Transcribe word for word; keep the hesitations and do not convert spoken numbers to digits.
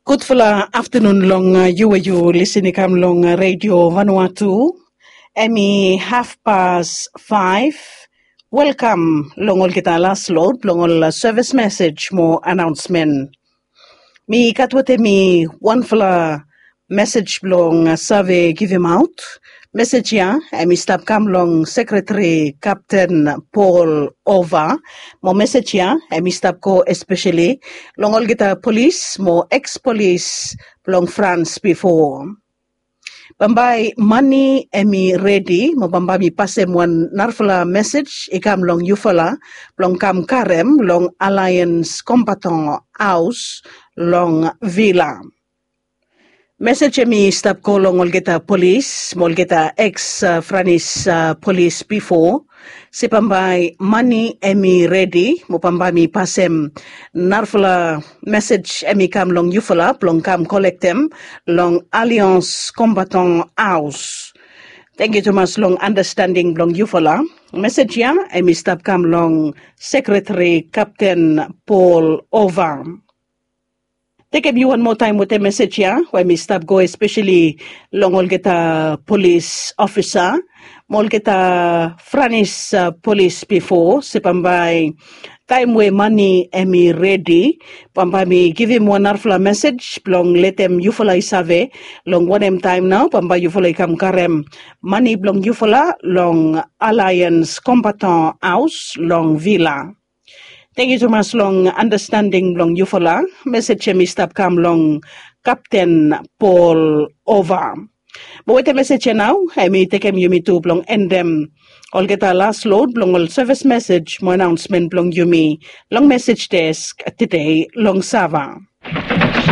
Gudfala aftanun long yu we yu lisin i kam long Redio Vanuatu. Em i hafpas faef. Welkam long olgeta las lod blong ol sevis mesej mo anaonsmen. Mi gat wetem mi wanfala mesej blong save givimaot. Mesej ya em i stap kam long Sekretari Kapten Paul Ova. Mo mesej ya em i stap go espeseli long olgeta polis mo ekspolis blong Frans bifo. Bambae mani em i redi mo bambae mi pasem wan narafala mesej i kam long yufala blong kam karem long Alliance Combattant House long Vila. Mesej em i stap go long olgeta polis mo olgeta eks Franis polis bifo. Se bambae mani em i redi mo bambae mi pasem narafala mesej em i kam long yufala blong kam kolektem long Alliance Combattant House. Tangkiu tumas long andastanding blong yufala. Mesej ya em i stap kam long Sekretari Kapten Paul Ova. Tekem yu wan moa taem wetem mesej ya we mi stap go espeseli long olgeta polis ofisa mo olgeta Franis polis bifo, se bambae taem we mani em i redi, bambae mi givim wan narafala mesej blong letem yufala i save long wanem taem nao bambae yufala i kam karem mani blong yufala long Alliance Combattant House long Vila. Tangkiu tumas long andastanding blong yufala. Mesej em i stap kam long Kapten Paul Ova. Mo wetem mesej ya nao em i tekem yumi tu blong endem olgeta las lod blong ol sevis mesej mo anaonsmen blong yumi long mesej desk tede long Sava.